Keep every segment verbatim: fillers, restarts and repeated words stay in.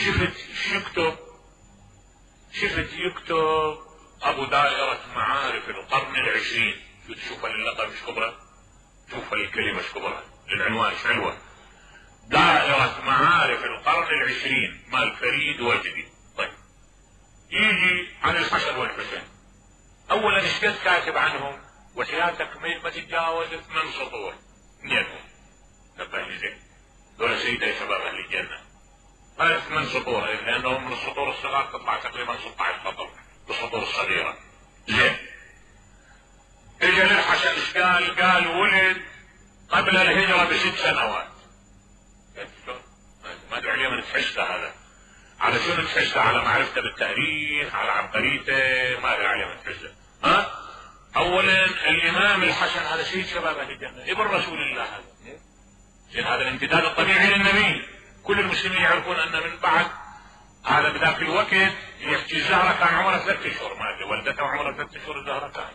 شفت يكتب شفت يكتب ابو دائرة معارف القرن العشرين. شوف اللقب مش كبرى، شوف الكلمة مش كبرى، العنوان مش حلوة. دائرة معارف القرن العشرين مال فريد وجدي. طيب يجي عن الحسن والحسين. اولا ايش كاتب عنهم؟ وحياتك ما تتجاوز ثمان سطور اثنينهم. نبه لي زين، دول سيدة شباب اهل الجنة. هاي ثمان سطور لانهم من السطور الصغار تطلع تقريبا ستة عشر سطر بالسطور الصغيرة. زين. اجى للحسن ايش قال؟ قال ولد قبل الهجرة بست سنوات. ما ادري عليه من تحسه هذا، على شنو تحسه؟ على معرفته بالتاريخ، على عبقريته، ما ادري عليه من تحسه. ها؟ اولا الامام الحسن هذا سيد شباب اهل الجنة، ابن رسول الله هذا. زين، هذا الامتداد الطبيعي للنبي. كل المسلمين يعرفون ان من بعد هذا بذاك الوقت يحكي الزهرة كان عمرها ثلاث اشهر، ما ادري ولدتها عمرها ثلاث اشهر الزهرة كان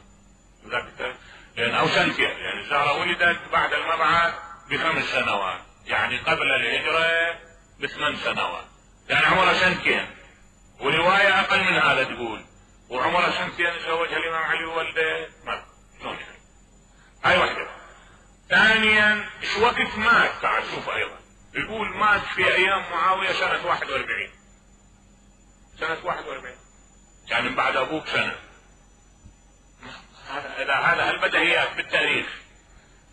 بذاك، لان او سنتين، يعني الزهرة ولدت بعد المبعث بخمس سنوات، يعني قبل الهجرة بثمان سنوات، يعني عمرها سنتين. ورواية اقل من هذا تقول وعمرها سنتين تزوجها الامام علي وولده. ما شلون يعني؟ هاي واحدة. ثانيا ايش وقت مات؟ تعال شوف ايضا، يقول مات في ايام معاوية سنة واحد واربعين، سنة واحد واربعين، يعني من بعد ابوك سنة. هذا هذا البديهيات بالتاريخ،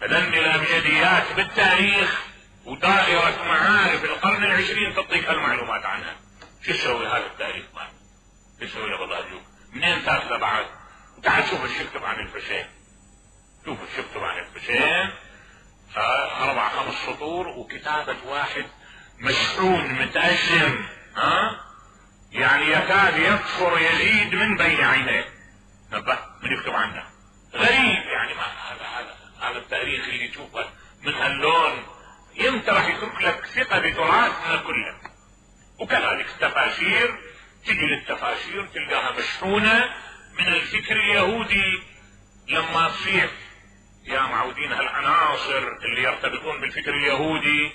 فدني الابجديات بالتاريخ ودائرة معارف القرن العشرين تعطيك هالمعلومات عنها. شو يسوي هذا التاريخ؟ ما شو يسوي له والله؟ شوف منين تاخذه بعد؟ تعال شوف ايش يكتب عن الحسين، شوف ايش يكتب عن الحسين. اربع خمس سطور وكتابة واحد مشحون متأشم، ها؟ يعني يكاد يكفر يزيد من بين عينيه. نبه من يكتب عنه غريب، يعني ما هذا هذا هذا التاريخ اللي تشوفه من هاللون يمتى راح يترك لك ثقة بتراثنا كله. وكذلك التفاسير، تجي للتفاسير تلقاها مشحونة من الفكر اليهودي. لما تصير يا معودين هالعناصر اللي يرتبطون بالفكر اليهودي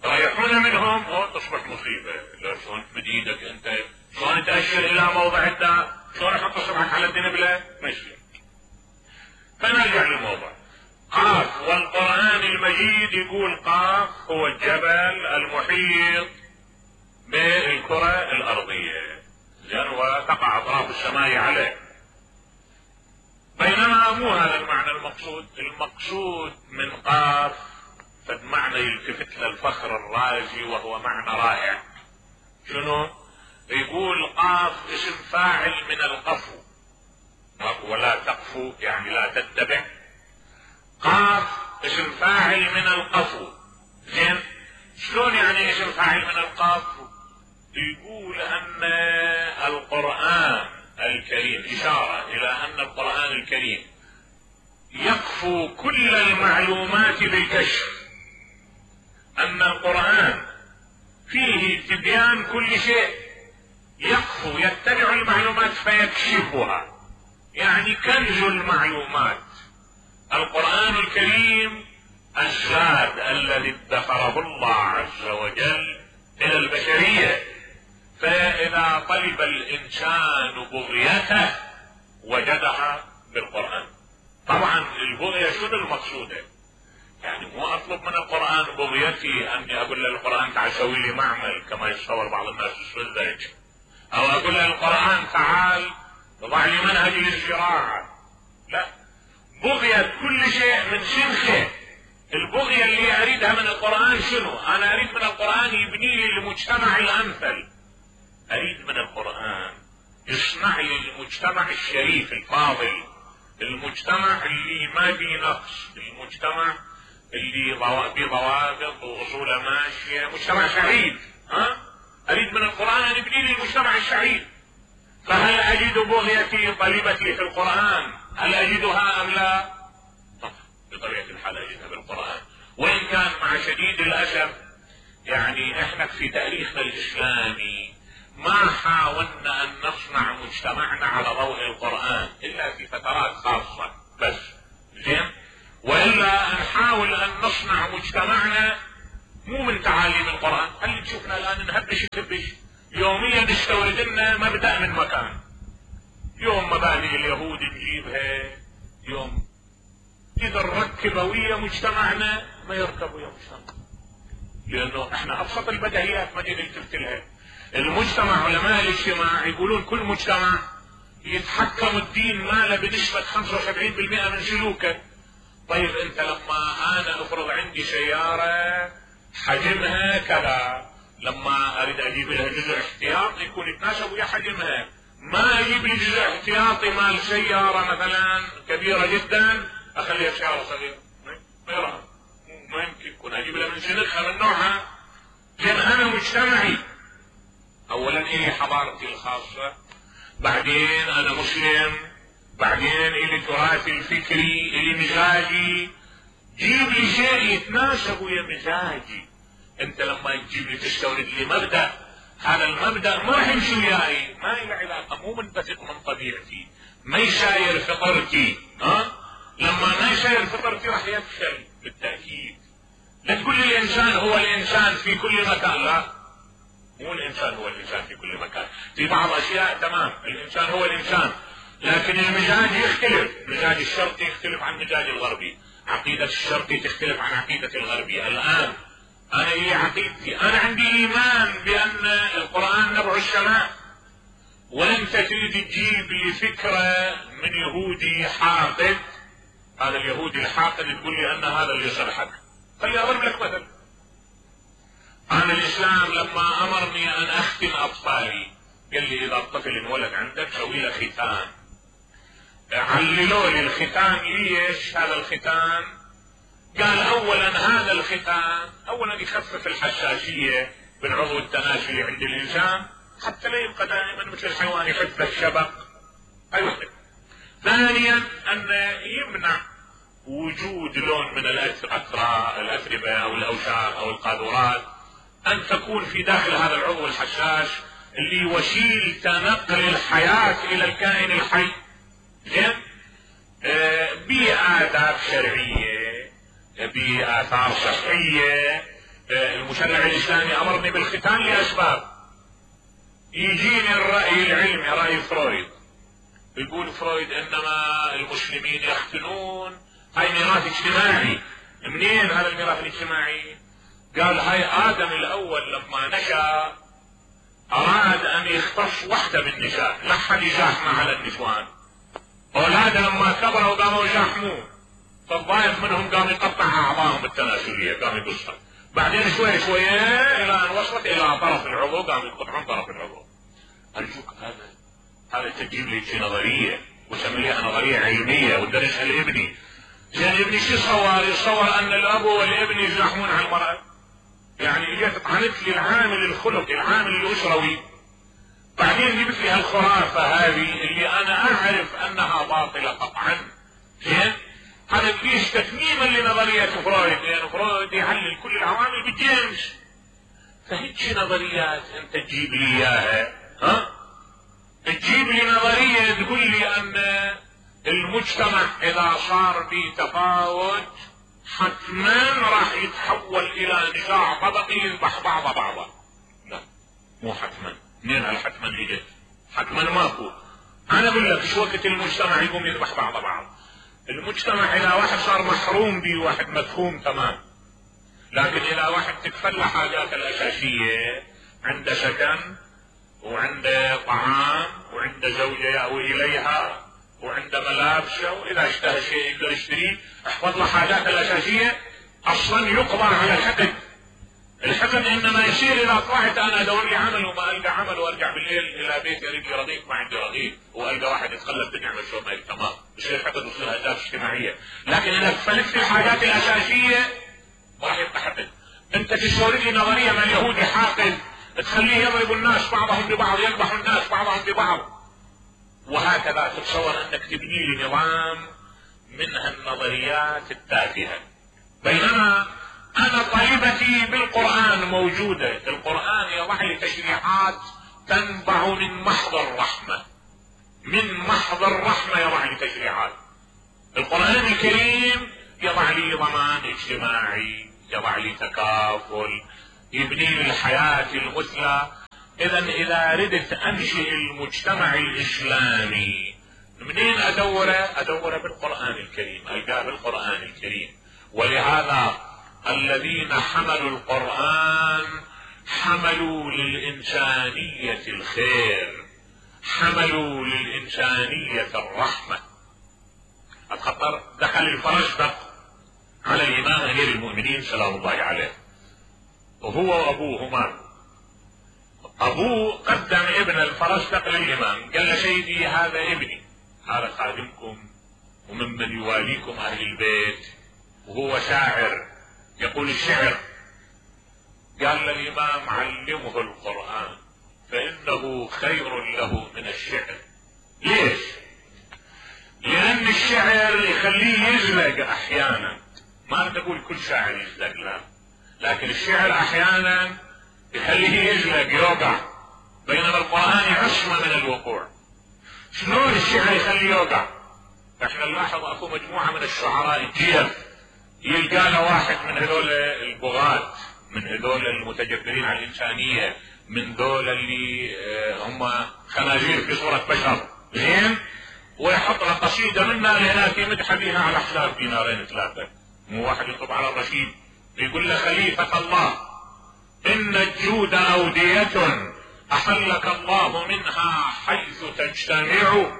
رايحون منهم، او تصبح مصيبة. لا شلون تمد ايدك انت، شلون تأشر الى موضع الداء، شلون احط صبعك على الدنبلة، ما يصير. فنرجع للموضوع. قاف والقرآن المجيد يقول قاف هو الجبل المحيط بالكرة الارضية، زين، وتقع اطراف السماء عليه. بينما مو هذا المعنى المقصود. المقصود من قاف فد معنى يلتفت للفخر الرازي، وهو معنى رائع. شنو؟ يقول قاف اسم فاعل من القفو، ولا تقفو يعني لا تتبع. قاف اسم فاعل من القفو. زين، شلون يعني اسم فاعل من القفو؟ يقول ان القرآن الكريم إشارة إلى أن القرآن الكريم يقفو كل المعلومات بالكشف، أن القرآن فيه تبيان كل شيء، يقفو يتبع المعلومات فيكشفها، يعني كنز المعلومات. القرآن الكريم الزاد الذي ادخره الله عز وجل إلى البشرية، فإذا طلب الإنسان بغيته وجدها بالقرآن. طبعا البغية شنو المقصودة؟ يعني مو أطلب من القرآن بغيتي أني أقول للقرآن تعال سوي لي معمل كما يتصور بعض الناس السذج، أو أقول للقرآن تعال ضع لي منهج للزراعة. لا، بغية كل شيء من سنخه. البغية اللي أريدها من القرآن شنو؟ أنا أريد من القرآن يبني لي المجتمع الأمثل، أريد من القرآن يصنع لي المجتمع الشريف الفاضل، المجتمع اللي ما فيه نقص، المجتمع اللي بضوابط وأصوله ماشية، مجتمع سعيد. ها؟ أريد من القرآن أن يبني لي المجتمع السعيد. فهل أجد بغيتي طلبتي في القرآن؟ هل أجدها أم لا؟ طبعا بطبيعة الحال أجدها بالقرآن، وإن كان مع شديد الأسف يعني إحنا في تاريخنا الإسلامي ما حاولنا أن نصنع مجتمعنا على ضوء القرآن إلا في فترات خاصة بس. زين، وإلا نحاول أن نصنع مجتمعنا مو من تعاليم القرآن. هل تشوفنا الآن نهبش نهبش يوميا نستورد لنا مبدأ من مكان. يوم مبادئ اليهود نجيبها، يوم اذا نركب ويا مجتمعنا ما يركب ويا مجتمع، لانه احنا ابسط البديهيات ما جينا قلت لها. المجتمع، علماء الاجتماع يقولون كل مجتمع يتحكم الدين ماله بنسبة خمسة وسبعين بالمئة من سلوكه. طيب انت لما انا افرض عندي سيارة حجمها كذا، لما اريد اجيب لها جزء احتياطي يكون يتناسب ويا حجمها، ما اجيب لي جزء احتياطي مال سيارة مثلا كبيرة جدا اخليها سيارة صغيرة، ما يمكن يكون اجيب لها من سنخها من نوعها. لان انا مجتمعي اولا الي حضارتي الخاصة، بعدين انا مسلم، بعدين الي تراثي الفكري، الي مزاجي. جيب لي شيء يتناسب ويا مزاجي. انت لما تجيب لي تستورد لي مبدأ، هذا المبدأ ما راح يمشي وياي، ما له علاقة، مو منبثق من طبيعتي، ما يساير فطرتي. ها لما ما يساير فطرتي راح يفشل بالتأكيد. لا تقول لي الانسان هو الانسان في كل مكان، لا، مو الانسان هو الانسان في كل مكان. في بعض اشياء تمام الانسان هو الانسان، لكن المزاج يختلف. مزاج الشرقي يختلف عن مزاج الغربي، عقيدة الشرقي تختلف عن عقيدة الغربي. الان انا لي عقيدتي، انا عندي ايمان بان القرآن نبع السماء، وانت تريد تجيب لي فكرة من يهودي حاقد، هذا اليهودي الحاقد تقول لي ان هذا اللي يصلحك. خلي اضرب لك مثل. انا الاسلام لما امرني ان اختن اطفالي قال لي اذا الطفل انولد عندك سوي له ختان. عللوا لي الختان ليش هذا الختان؟ قال اولا هذا الختان اولا يخفف الحساسية بالعضو التناسلي عند الانسان حتى لا يبقى دائما مثل الحيوان يحب الشبق. ايوه. ثانيا ان يمنع وجود لون من الاتربة او الاوساخ او القاذورات ان تكون في داخل هذا العضو الحساس اللي وسيلة نقل الحياة الى الكائن الحي. زين؟ آه بآداب شرعية، بآثار صحية. آه المشرع الاسلامي امرني بالختان لاسباب. يجيني الرأي العلمي، رأي فرويد، يقول فرويد انما المسلمين يختنون، هاي ميراث اجتماعي. منين هذا الميراث الاجتماعي؟ قال هاي ادم الاول لما نشأ اراد ان يختص وحده بالنساء، لا حد يزاحمه على النسوان. اولاده لما كبروا قاموا يزاحموه، فالضايق منهم قام يقطع اعضائهم التناسليه، قام يقصها. بعدين شوي شوي الى ان وصلت الى طرف العضو قام يقطعون طرف العضو. ارجوك هذا هذا تجيب لي شي نظريه وسميها نظريه علميه ودرسها لابني. زين ابني شو صور؟ يصور ان الاب والابن يزاحمون على المراه. يعني اجت طعنت لي العامل الخلقي، العامل الاسروي، بعدين جبت لي هالخرافه هذه اللي انا اعرف انها باطله قطعا. زين؟ هذا ليش تتميما لنظريه فرويد، لان يعني فرويد يعلل كل العوامل بالجنس. فهيك نظريات انت تجيب لي اياها، ها؟ تجيب لي نظريه تقول لي ان المجتمع اذا صار به تفاوت حتما راح يتحول الى نزاع طبقي يذبح بعض بعضا. لا مو حتما. منين هالحتما اجت؟ حتما ماكو. انا اقول لك شو وقت المجتمع يقوم يذبح بعض بعض؟ المجتمع اذا واحد صار محروم به واحد مفهوم تمام، لكن اذا واحد تكفل حاجاته الاساسيه، عنده سكن وعنده طعام وعنده زوجه يأوي اليها وعنده ملابسه، واذا اشتهى شيء يقدر يشتريه، احفظ له حاجاته الاساسيه، اصلا يقضى على الحقد. الحقد انما يصير اذا طلعت انا ادور لي عمل وما القى عمل وارجع بالليل الى بيتي اريد لي رغيف ما عندي رغيف، والقى واحد يتخلف بدي اعمل شو ما تمام، يصير حقد ويصير اهداف اجتماعيه. لكن اذا فلت الحاجات الاساسيه ما راح يبقى حقد. انت تستورد لي نظريه من اليهودي حاقد تخليه يضرب الناس بعضهم ببعض، يذبح الناس بعضهم ببعض، وهكذا تتصور انك تبني لي نظام من هالنظريات التافهه. بينما انا طالبتي بالقرآن موجودة. القرآن يضع لي تشريعات تنبع من محض الرحمة، من محض الرحمة يضع لي تشريعات. القرآن الكريم يضع لي ضمان اجتماعي، يضع لي تكافل، يبني لي الحياة المثلى. اذا اذا ردت انشئ المجتمع الاسلامي منين ادوره؟ ادوره بالقرآن الكريم، القاه بالقرآن الكريم. ولهذا الذين حملوا القرآن حملوا للإنسانية الخير، حملوا للإنسانية الرحمة. الخطر دخل الفرزدق على الإمام أمير المؤمنين سلام الله عليه، وهو وأبوهما. أبوه قدم ابن الفرزدق للإمام، قال له سيدي هذا ابني، هذا خادمكم وممن يواليكم أهل البيت، وهو شاعر يقول الشعر. قال للإمام علمه القرآن فإنه خير له من الشعر. ليش؟ لأن الشعر يخليه يزلق أحيانا، ما نقول كل شاعر يزلق لا، لكن الشعر أحيانا يخليه يزلق يوقع، بينما القرآن يعصمه من الوقوع. شلون الشعر يخليه يوقع؟ احنا نلاحظ اكو مجموعة من الشعراء الجيل يلقى له واحد من هذول البغاة، من هذول المتجبرين على الإنسانية، من ذول اللي هم خنازير في صورة بشر، زين، ويحط له قصيدة منها لهناك يمدح بها على حساب دينارين ثلاثة. مو واحد يطب على الرشيد يقول له خليفة الله إن الجود أودية أحلك الله منها حيث تجتمع،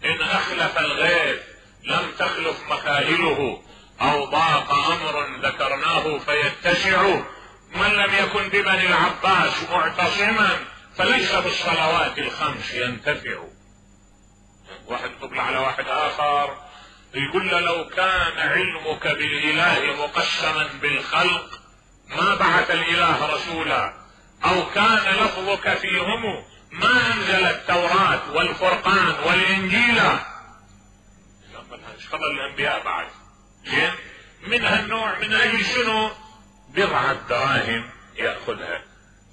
إن أخلف الغيث لم تخلف مكاهله، أو ضاق أمر ذكرناه فيتسع، من لم يكن ببني العباس معتصما فليس بالصلوات الخمس ينتفع. واحد يطبل على واحد آخر يقول له لو كان علمك بالإله مقسما بالخلق ما بعث الإله رسولا، أو كان لفظك فيهم ما أنزل التوراة والفرقان والإنجيل. خبر الأنبياء بعد زين من هالنوع، من أجل شنو؟ بضعة دراهم يأخذها،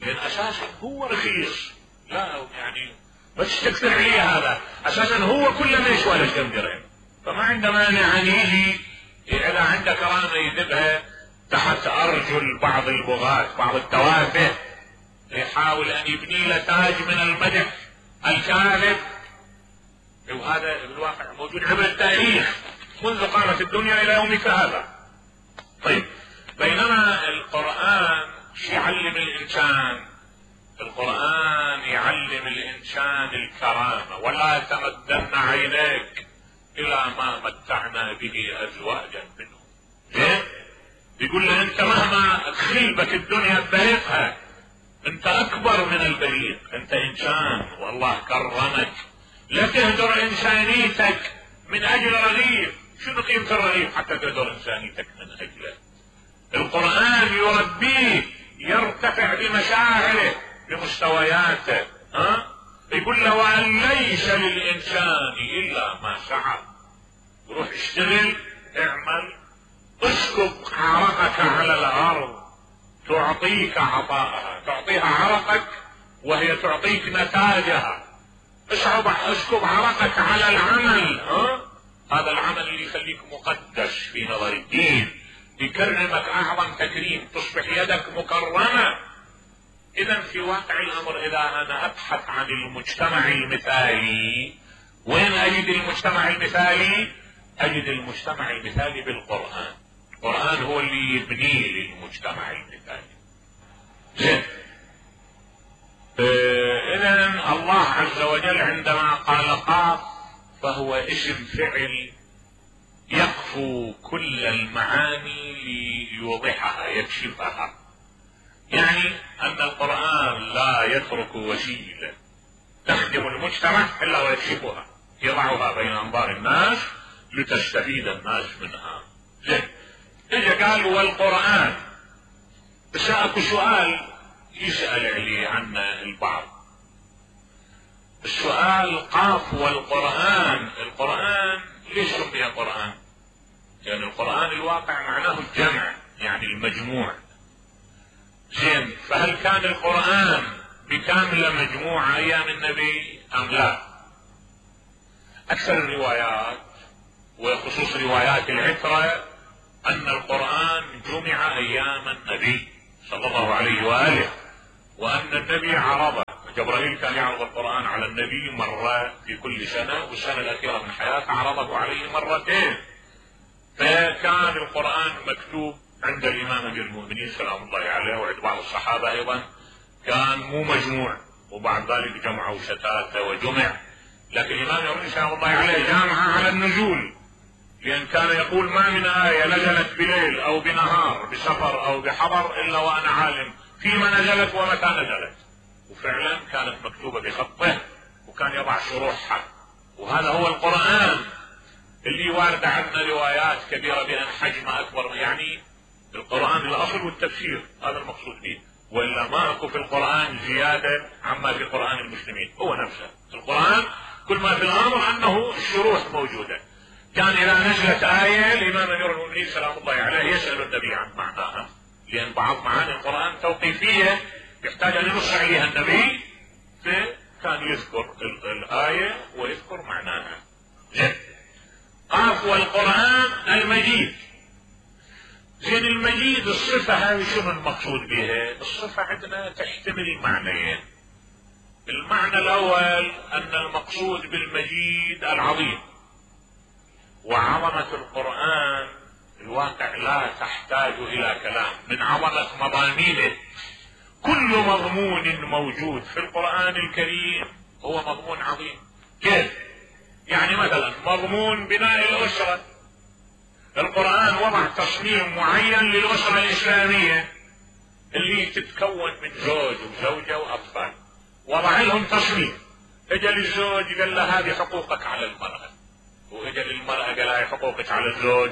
لأن أساسا هو رخيص، لا يعني بس تكثر عليه هذا، أساسا هو كله ما يسوى لك كم درهم، فما عنده مانع أن يجي إذا عنده كرامة يذبها تحت أرجل بعض البغاة بعض التوافه، يحاول أن يبني له تاج من المدح الكاذب. وهذا بالواقع موجود عبر التاريخ منذ قامت الدنيا إلى يومك هذا. طيب، بينما القرآن يعلم الإنسان، القرآن يعلم الإنسان الكرامة، ولا تمدن عينيك إلى ما متعنا به أزواجا منهم. إيه؟ يقول له أنت مهما تخيبك الدنيا ببريقها أنت أكبر من البريق، أنت إنسان والله كرمك، لا تهدر إنسانيتك من أجل رغيف. شنو قيمة الرغيف حتى تهدر إنسانيتك من أجله؟ القرآن يربيه يرتفع بمشاعره بمستوياته، ها؟ يقول له وأن ليس للإنسان إلا ما سعى. روح اشتغل، اعمل، اسكب عرقك على الأرض تعطيك عطاءها، تعطيها عرقك وهي تعطيك نتاجها. اسحب اسكب عرقك على العمل، ها؟ هذا العمل اللي يخليك مقدس في نظر الدين، يكرمك أعظم تكريم، تصبح يدك مكرمة. إذا في واقع الأمر إذا أنا أبحث عن المجتمع المثالي، وين أجد المجتمع المثالي؟ أجد المجتمع المثالي بالقرآن. القرآن هو اللي يبني للمجتمع المثالي. زين، إذن الله عز وجل عندما قال قاف فهو اسم فعل يقفو كل المعاني ليوضحها يكشفها، يعني أن القرآن لا يترك وسيلة تخدم المجتمع إلا ويكشفها، يضعها بين أنظار الناس لتستفيد الناس منها. زين، إجا قال والقرآن، بس أكو سؤال يسأل عليه عنا البعض. السؤال قاف والقرآن، القرآن ليش سمي قرآن؟ لأن يعني القرآن الواقع معناه الجمع، يعني المجموع. زين، فهل كان القرآن بكاملة مجموعة أيام النبي أم لا؟ أكثر الروايات وخصوص روايات العترة أن القرآن جمع أيام النبي صلى الله عليه وآله، وأن النبي عرضه جبرائيل كان يعرض القرآن على النبي مرة في كل سنة، والسنة الأخيرة من حياته عرضه عليه مرتين. فكان القرآن مكتوب عند الإمام أمير المؤمنين سلام الله عليه وعند بعض الصحابة أيضا كان مو مجموع، وبعد ذلك جمعوا شتاته وجمع، لكن الإمام أمير سلام الله عليه جامعها على النزول، لأن كان يقول ما من آية نزلت بليل أو بنهار بسفر أو بحضر إلا وأنا عالم فيما نزلت ومتى نزلت. وفعلا كانت مكتوبة بخطه وكان يضع شروحها. وهذا هو القرآن اللي وارد عندنا روايات كبيرة بأن حجمه أكبر، يعني القرآن الأصل والتفسير هذا المقصود به، وإلا ما أكو في القرآن زيادة عما في قرآن المسلمين، هو نفسه القرآن كل ما في الأمر أنه الشروح موجودة. كان إذا نزلت آية الإمام أمير المؤمنين سلام الله عليه يسأل النبي عن معناها، لأن بعض معاني القرآن توقيفية يحتاج أن ينص عليها النبي، فكان يذكر الآية ويذكر معناها. زين. قاف والقرآن المجيد. زين المجيد الصفة هذه شنو المقصود بها؟ الصفة عندنا تحتمل معنيين. المعنى الأول أن المقصود بالمجيد العظيم، وعظمة القرآن الواقع لا تحتاج إلى كلام من عظمة مضامينه. كل مضمون موجود في القرآن الكريم هو مضمون عظيم. كيف؟ يعني مثلا مضمون بناء الأسرة، القرآن وضع تصميم معين للأسرة الإسلامية اللي تتكون من زوج وزوجة وأطفال، وضع لهم تصميم. اجل الزوج قال له هذه حقوقك على المرأة، واجل المرأة قال لها حقوقك على الزوج،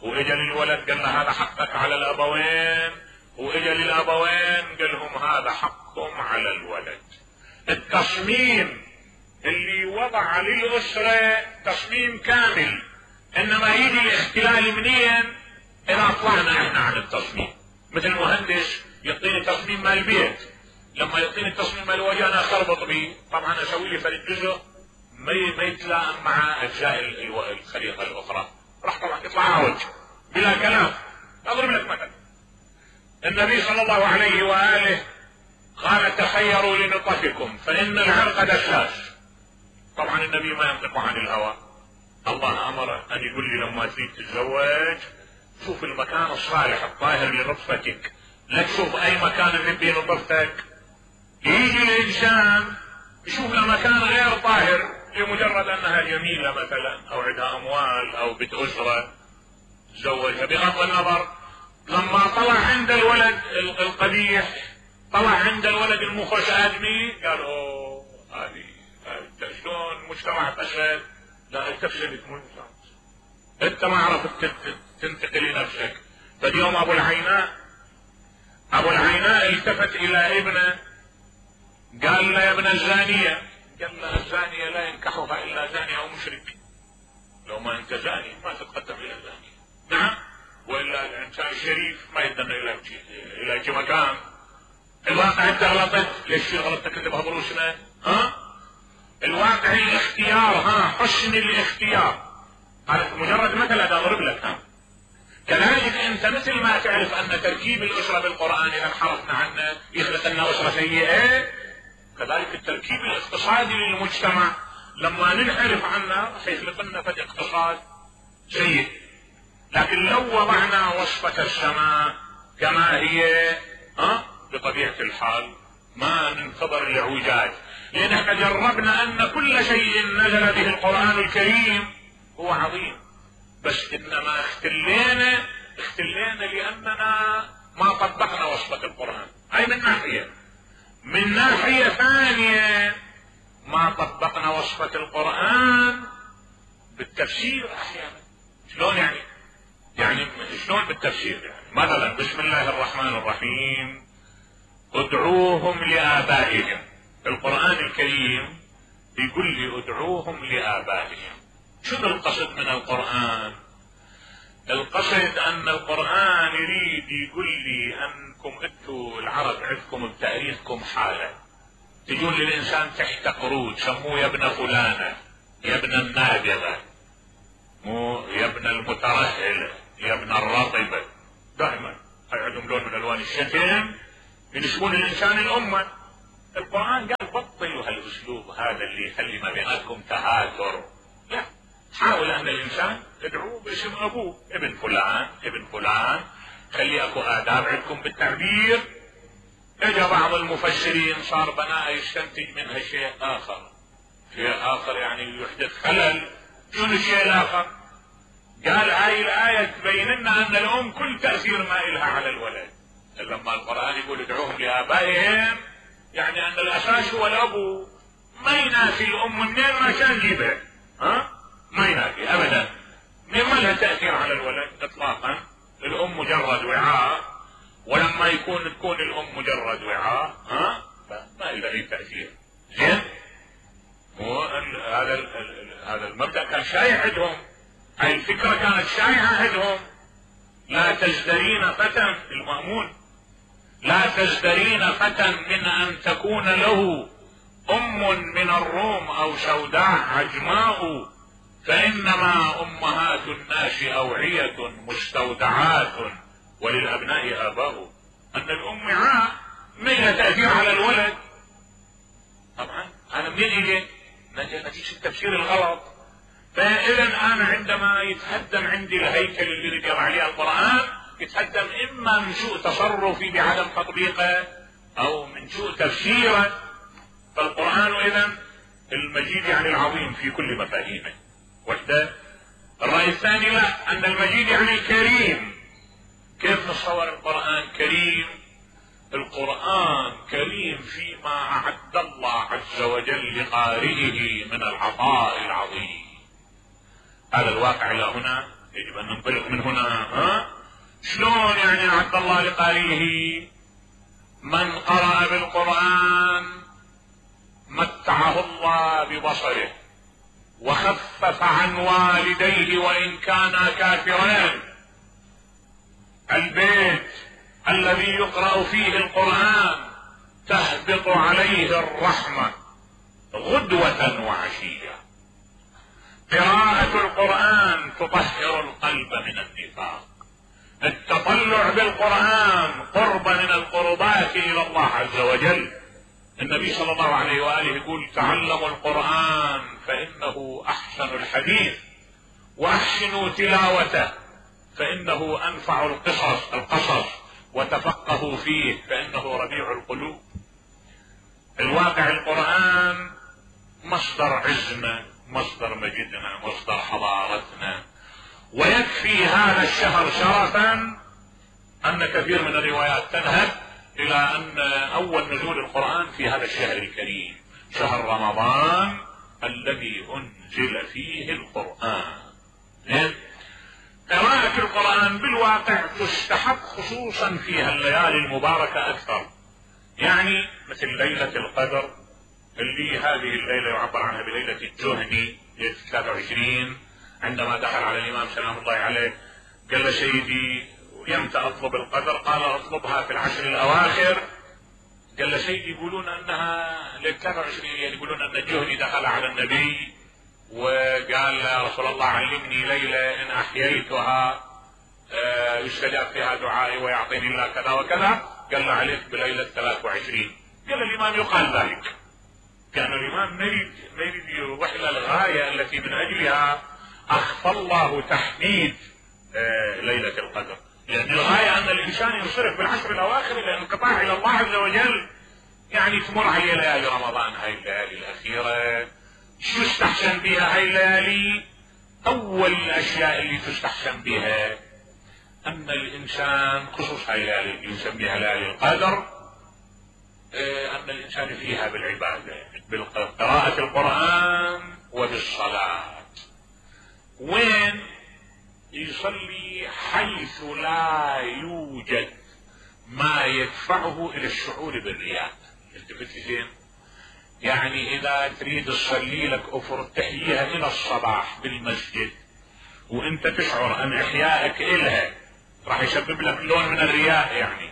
واجل الولد قال له هذا حقك على الأبوين، واجل الأبوين قال لهم هذا حقهم على الولد. التصميم اللي وضع للأسرة تصميم كامل، انما يجي الاختلال منين؟ اذا طلعنا احنا عن التصميم. مثل مهندس يعطيني تصميم مال البيت، لما يعطيني التصميم مال الوجه انا اخربط به، طبعا اسوي لي فرد جزء ما يتلائم مع اجزاء الخليقه الاخرى، راح طبعا يطلع عوج بلا كلام. اضرب لك مثلا، النبي صلى الله عليه واله قال تخيروا لنطفكم فان العرق دساس. طبعا النبي ما ينطق عن الهوى، الله امره ان يقول لي لما تريد تتزوج شوف المكان الصالح الطاهر لنطفتك، لا تشوف اي مكان نبي نطفتك. يجي الانسان يشوف له مكان غير طاهر لمجرد انها جميله مثلا او عندها اموال او بنت اسره تزوجها، بغض النظر. لما طلع عند الولد القبيح، طلع عند الولد المخرج ادمي، قال اوه هذه شلون مجتمع فسد. لا انت فسدت مجتمع، انت ما عرفت تنتقل لنفسك. فاليوم ابو العيناء ابو العيناء التفت الى ابنه قال له يا ابن الزانيه، قال له الزانيه لا ينكحها الا زاني او مشرك، لو ما انت زاني ما تتقدم الى الزانيه. نعم، والا الانسان الشريف ما يدنا الى الى شي مكان. الواقع انت غلطت، ليش غلطتك انت بهضروسنا؟ ها؟ الواقع الاختيار، ها حسن الاختيار. هذا مجرد مثل اضرب لك. ها كذلك انت مثل ما تعرف ان تركيب الاسره بالقران اذا انحرفنا عنه يخلق لنا اسره سيئه، كذلك التركيب الاقتصادي للمجتمع لما ننحرف عنه راح يخلق لنا فد اقتصاد سيء. لكن لو وضعنا وصفة السماء كما هي ها بطبيعة الحال ما ننتظر الاعوجاج، لان احنا جربنا ان كل شيء نزل به القرآن الكريم هو عظيم، بس انما اختلينا اختلينا لاننا ما طبقنا وصفة القرآن. هاي من ناحية. من ناحية ثانية ما طبقنا وصفة القرآن بالتفسير احيانا. شلون يعني؟ يعني شلون بالتفسير؟ يعني مثلا بسم الله الرحمن الرحيم ادعوهم لآبائهم، القرآن الكريم يقول لي ادعوهم لآبائهم. شنو القصد من القرآن؟ القصد ان القرآن يريد يقول لي انكم انتوا العرب عندكم بتاريخكم حالة، تجون للانسان تحت قرود سموه يا ابن فلانة، يا ابن النابغة، مو يا ابن المترهلة، يا ابن الرطبة، دائما هاي عندهم لون من الوان الشتم ينسبون الانسان الامة. القرآن قال بهالاسلوب هذا اللي يخلي ما بيناتكم تهاتر. لا، حاول ان الانسان تدعوه باسم ابوه، ابن فلان ابن فلان، خلي اكو اداب عندكم بالتعبير. اجى بعض المفسرين صار بناء يستنتج منها شيء اخر، شيء اخر يعني يحدث خلل. شنو الشيء الاخر؟ قال هاي الايه تبين لنا ان الام كل تاثير ما الها على الولد. لما القران يقول ادعوهم لابائهم يعني ان الاساس هو الابو، ما ينافي الام منين ما كان جيبه، ها؟ ما ينافي ابدا، ما لها تاثير على الولد اطلاقا. الام مجرد وعاء، ولما يكون تكون الام مجرد وعاء ها ما لها اي تاثير. زين؟ هذا هذا المبدا كان شائع عندهم، هاي الفكره كانت شائعه عندهم. لا تزدرين فتى المأمون، لا تزدرين فتى من ان تكون له ام من الروم او سوداء عجماء، فانما امهات الناس اوعية مستودعات وللابناء اباء. ان الام وعاء ما لها تاثير على الولد. طبعا انا منين اجي؟ نتيجه التفسير الغلط. فاذا انا عندما يتهدم عندي الهيكل اللي يقرا عليه القران، يتهدم اما من سوء تصرفي بعدم تطبيقه او من سوء تفسيره. فالقران اذا المجيد يعني العظيم في كل مفاهيمه. وحده. الراي الثاني لا، ان المجيد يعني الكريم. كيف نتصور القران كريم؟ القرآن كريم فيما أعد الله عز وجل لقارئه من العطاء العظيم. هذا الواقع لا هنا يجب أن ننطلق من هنا. ها؟ شلون يعني أعد الله لقارئه؟ من قرأ بالقرآن متعه الله ببصره وخفف عن والديه وإن كانا كافرين. البيت الذي يقرأ فيه القرآن تهبط عليه الرحمة غدوة وعشية. قراءة القرآن تطهر القلب من النفاق. التطلع بالقرآن قرب من القربات إلى الله عز وجل. النبي صلى الله عليه وآله يقول تعلموا القرآن فإنه أحسن الحديث وأحسنوا تلاوته فإنه أنفع القصص القصص وتفقهوا فيه فإنه ربيع القلوب. الواقع القرآن مصدر عزنا، مصدر مجدنا، مصدر حضارتنا. ويكفي هذا الشهر شرفا أن كثير من الروايات تذهب إلى أن أول نزول القرآن في هذا الشهر الكريم، شهر رمضان الذي أنزل فيه القرآن. قراءة القرآن بالواقع تستحق خصوصا في هالليالي المباركة أكثر. يعني مثل ليلة القدر اللي هذه الليلة يعبر عنها بليلة الجهني، ليلة ثلاثة وعشرين، عندما دخل على الإمام سلام الله عليه قال له سيدي يمتى أطلب القدر؟ قال أطلبها في العشر الأواخر. قال له سيدي يقولون أنها ليلة ثلاثة وعشرين، يعني يقولون أن الجهني دخل على النبي وقال يا رسول الله علمني ليلة إن أحييتها يستجاب فيها دعائي ويعطيني الله كذا وكذا. قال له عليك بليلة ثلاثة وعشرين. قال الإمام يقال ذلك. كان الإمام ما يريد ما يريد يروح إلى الغاية التي من أجلها أخفى الله تحديد ليلة القدر، لأن الغاية أن الإنسان ينصرف بالعشر الأواخر إلى الانقطاع إلى الله عز وجل. يعني تمر عليه ليالي رمضان، هاي الليالي الأخيرة شو يستحسن بها هاي الليالي؟ أول الأشياء اللي تستحسن بها أن الإنسان خصوص هاي الليالي اللي يسميها ليالي القدر، أن الإنسان فيها بالعبادة، بقراءة القرآن وبالصلاة. وين؟ يصلي حيث لا يوجد ما يدفعه إلى الشعور بالرياء. التفت زين؟ يعني إذا تريد تصلي لك أفر تحييها إلى الصباح بالمسجد وأنت تشعر أن إحيائك إلها راح يسبب لك لون من الرياء، يعني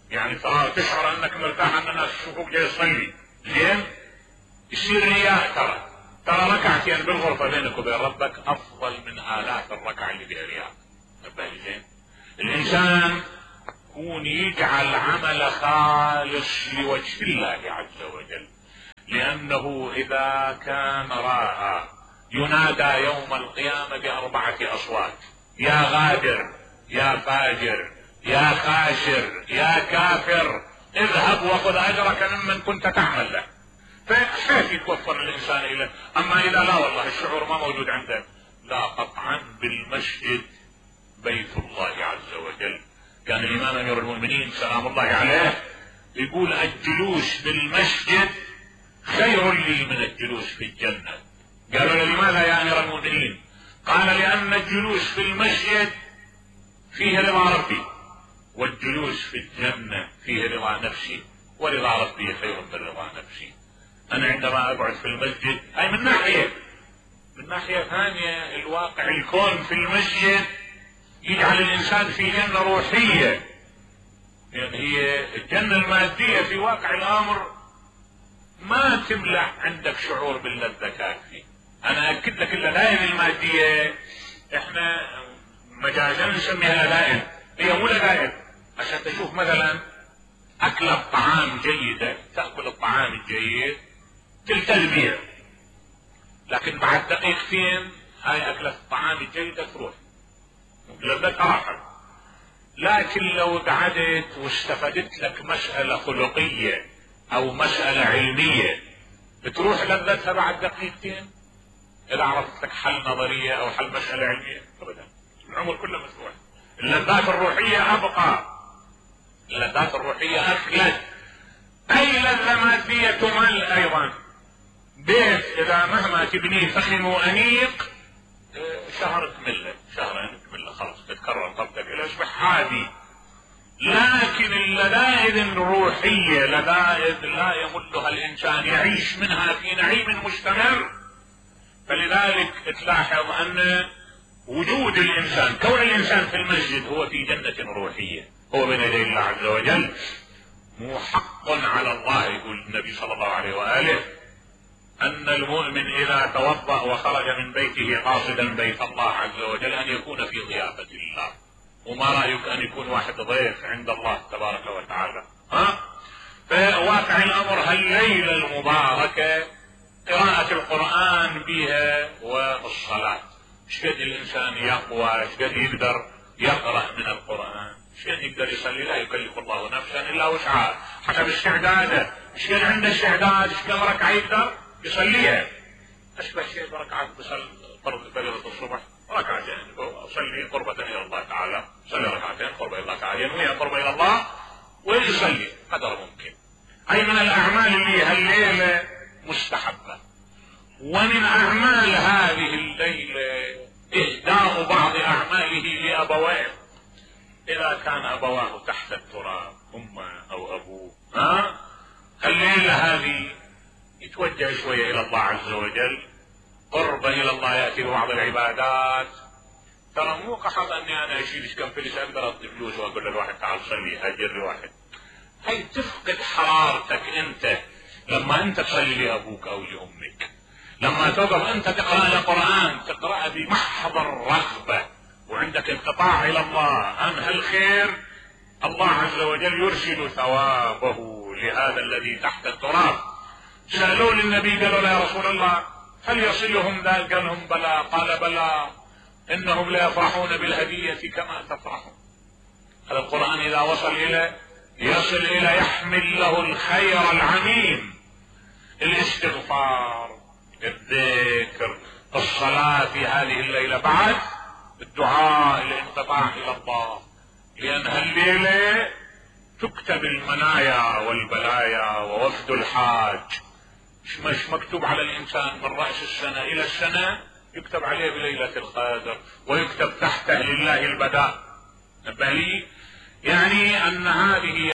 يعني ترى تشعر أنك مرتاح أن الناس يشوفوك جاي تصلي، زين؟ يصير رياء. ترى ترى ركعتين بالغرفة بينك وبين ربك أفضل من آلاف الركعة اللي فيها رياء. زين؟ الإنسان يكون يجعل عمل خالص لوجه الله عز وجل، لأن لانه اذا كان راى ينادى يوم القيامة باربعة اصوات: يا غادر، يا فاجر، يا خاشر، يا كافر، اذهب وخذ اجرك ممن كنت تعمل له. فكيف يتوفر الانسان اليه؟ اما اذا لا والله الشعور ما موجود عنده، لا قطعا بالمسجد بيت الله عز وجل. كان الامام امير المؤمنين سلام الله عليه يقول: الجلوس بالمسجد خير لي من الجلوس في الجنة. قالوا له: لماذا يا امير المؤمنين؟ قال: لان الجلوس في المسجد فيه رضا ربي، والجلوس في الجنة فيه رضا نفسي، ورضا ربي خير من رضا نفسي. انا عندما اقعد في المسجد، اي من ناحية، من ناحية ثانية الواقع الكون في المسجد يجعل الانسان في جنة روحية. يعني هي الجنة المادية في واقع الامر ما تملأ عندك شعور باللذة كافي. انا اكد لك اللذائذ المادية احنا مجازا نسميها لذائذ، هي مو لذائذ. عشان تشوف مثلا اكل الطعام جيدة، تأكل الطعام الجيد تلتل بيها، لكن بعد دقيقتين هاي اكلة الطعام الجيدة تروح، لذتها راحت. لكن لو قعدت واستفدت لك مسألة خلقية او مسألة علمية بتروح لذتها بعد دقيقتين. اذا عرفت لك حل نظرية او حل مسألة علمية ابدا، العمر كله مسروح. اللذات الروحية ابقى، اللذات الروحية اخلد. اي لذة مادية تمل ايضا. بيت اذا مهما تبنيه فخم وانيق شهر تمله، شهرين تمله، خلاص تتكرر طبقة الى يصبح عادي. لكن اللذائذ الروحية لذائذ لا يملها الانسان، يعيش منها في نعيم مستمر. فلذلك تلاحظ ان وجود الانسان، كون الانسان في المسجد هو في جنة روحية، هو بين يدي الله عز وجل. مو حق على الله، يقول النبي صلى الله عليه وآله: ان المؤمن اذا توضأ وخرج من بيته قاصدا بيت الله عز وجل ان يكون في ضيافة الله. وما رأيك ان يكون واحد ضيف عند الله تبارك وتعالى؟ ها؟ فواقع الامر هالليلة المباركة قراءة القرآن بها والصلاة. شقد الانسان يقوى، شقد يقدر يقرأ من القرآن، شقد يقدر يصلي. لا يكلف الله نفسا الا وسعها حسب استعداده. شقد عنده استعداد، شقد ركعة يقدر يصليها. اشبه شيء بركعات بصلي فريضة الصبح، ركعتين اصلي قربة الى الله تعالى، صلي ركعتين قربة الى الله تعالى، ينوي قربة الى الله ويصلي قدر ممكن. اي من الاعمال اللي هالليلة مستحبة. ومن اعمال هذه الليلة اهداء بعض اعماله لابويه. اذا كان ابواه تحت التراب، امه او ابوه، ها الليلة هذه يتوجه شوية الى الله عز وجل، قربا الى الله، يأتي ببعض العبادات. ترى مو قصد اني انا اشيل كم فلس اقدر اعطي فلوس واقول للواحد تعال صلي، هاجر واحد. هي تفقد حرارتك انت لما انت تصلي لابوك او لامك. لما توقف انت تقرأ القرآن تقرأ بمحض الرغبة وعندك انقطاع الى الله عن هالخير، الله عز وجل يرسل ثوابه لهذا الذي تحت التراب. سألوا للنبي قالوا له: يا رسول الله هل يصلهم ذلك؟ قال لهم: بلى. قال: بلى، انهم لا يفرحون بالهدية كما تفرحون. هذا القرآن اذا وصل الى يصل الى يحمل له الخير العميم، الاستغفار، الذكر، الصلاة في هذه الليلة، بعد الدعاء، الانقطاع الى الله. لان هالليلة تكتب المنايا والبلايا ووفد الحاج. مش مكتوب على الانسان من رأس السنة الى السنة، يكتب عليه بليلة القدر، ويكتب تحته لله البداء. نبه لي يعني ان هذه